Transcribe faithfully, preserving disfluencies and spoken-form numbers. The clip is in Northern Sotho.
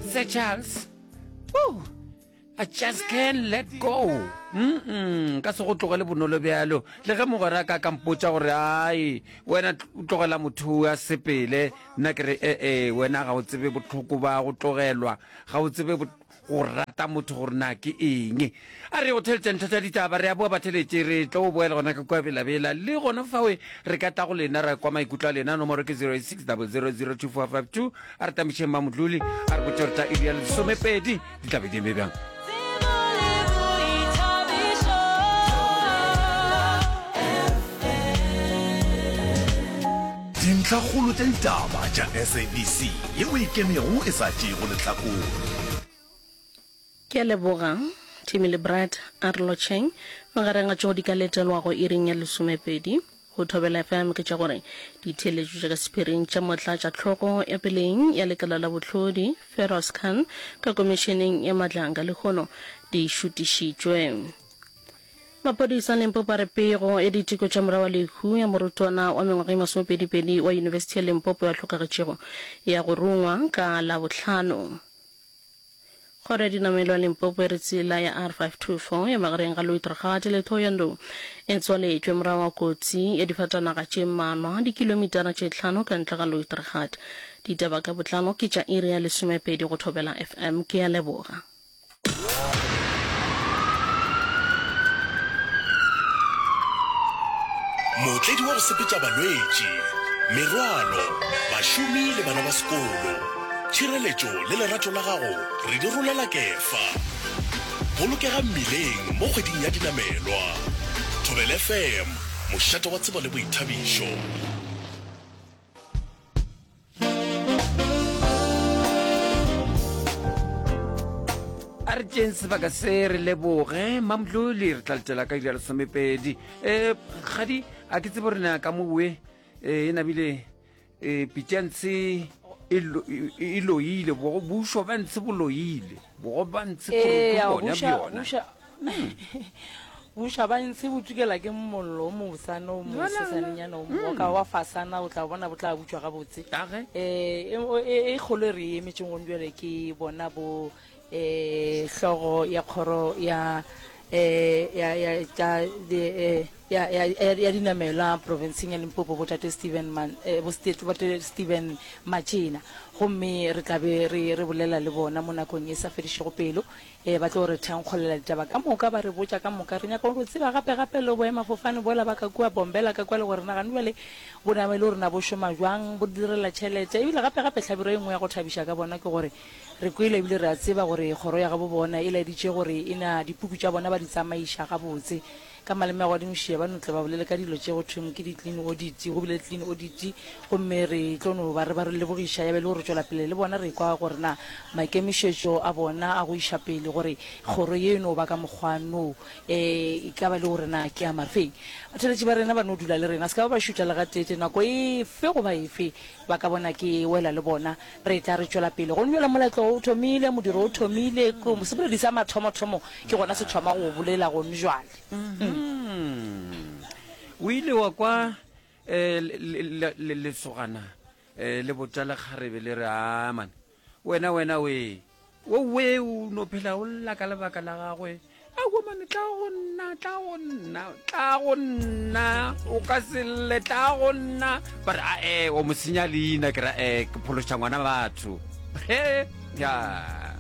Sir Charles. Woo! I just can't let go. Mm ka se go tlogele bonolo bjalo. Le ge mogwera ka ka mpotša gore ai wena o tlogela motho a sepele, nna ke re eh eh wena ga o tsebe bohloko ba go tlogelwa, ga o tsebe go rata motho gore na ke eng. A re go theletša ntlha tša ditaba, re a boa batheletše, re tlo boela gona ka kua belabela. Le gona fawe re ka tla go lena ra kwa maikutlo a lena. Nomoro ke zero eight six double zero zero two four five two. A re tamišeng Mamodluli, a re botše gore tša iri ya lesomepedi di tla be di eme bjang. Dintlhakgolo tša ditaba tša S A B C yeo e ikemego e sa tšeego lehlakore. Ke a leboga, Timmy le Brad, a re lotšheng. Magareng a tšeo di ka letelwago iring ya lesomepedi go Thobela F M ke tša gore ditheeletšo tša ka sephiring tša motlatšahlogo ya peleng ya lekala la bohlodi Feroz Khan ka komišeneng ya Madlanga lehono di šutišitšwe. Maphodisa a Limpopo a re pego ya diteko tša morago wa lehu ya morutwana wa mengwaga e masomepedipedi wa Yunibesithi ya Limpopo ya hlokagetšego ya go rungwa ka Labohlano. Kgoro ya dinamelwa Limpopo e re tsela ya R five two four ya magareng ga Louis-Trichardt le Thohoyandou e tswaletšwe morago ga kotsi ya difatanaga tše mmalwa dikilomitara tše hlano ka ntle ga Louis-Trichardt. Ditaba ka botlalo ke tša iri ya lesomepedi go Thobela F M. Ke a leboga. Mootledi wa go sepetša balwetši, merwalo, bašomi le bana ba sekolo. Tšhireletšo le lerato la gago re di rolela kefa. Bolokega mmileng mo kgweding ya dinamelwa. Thobela F M, mošate wa tsebo le boithabišo. A re tšeng sebaka se re leboge Mamdluli, re tla letela ka iri ya lesomepedi. Um kgadi a ke tsebe gore na ka mowe e nabile um pitšantshe e loile, bušo ba ntshe bo loile, bogo ba ntshe bona bjona. Buša ba ntshe bo tukela ke mollo o mobosana o mosesanenyana o moka wa fasana, o tla bona bo tla butšwa gabotse. Um e kgolo e re e emetšeng gone bjale ke bona bo um hlogo ya kgoro ya um ya ya tša ya ya ya dinamelwa provinceng ya Limpopo bo tate Steven Man bo tate Steven Matšena, gomme re tla be re re bolela le bona mo nakong e sa fedišego pelo. Ee, ba tlo re thenkgolela ditaba ka moka, ba re botša ka moka. Re nyaka go tseba gape gape le boemafofane bola ba ka kua Bombela ka kua le gore na gane bjale bo nama e le gore na bo šoma bjang, bo direla tšhelete. Ebile gape gape hlabirwa e nngwe ya go thabiša ka bona ke gore re kwele ebile re a tseba gore kgoro ya gabo bona e laeditše gore e na dipuku tša bona ba di tsamaiša gabotse. Ka maleme a godimošia ba no tle ba bolele ka dilo tše go thweng ke di-clean audit. Go bile le clean audit gomme re tlo no ba re ba re lebogiša ya be le gore tšwela pele le bona re kwa gore na maikemišetšo a bona a go iša pele gore kgoro ye e no ba ka mokgwa no e ka ba le gore na ke a mafeng. Batheeletši ba rena ba no dula le rena se ka ba ba šutha le gateete nako efe goba efe ba ka bona ke wela le bona re tla re tšwela pele. Gomme bjale moletlo o thomile, modiro o thomile, seboledi sa mathomothomo ke gona se thoma go bolela gone jwale. O ile wa kwa lesogana le botša lekgarebe le re, a man, wena wena we, we o no phela o lla ka lebaka la gagwe. Aowa mane, tla go nna, tla go nna, tla go nna, o ka se lle, tla go nna. Ba re, ae, o mo senya leina, ke ra, eh, ke phološa ngwana batho. He, ya.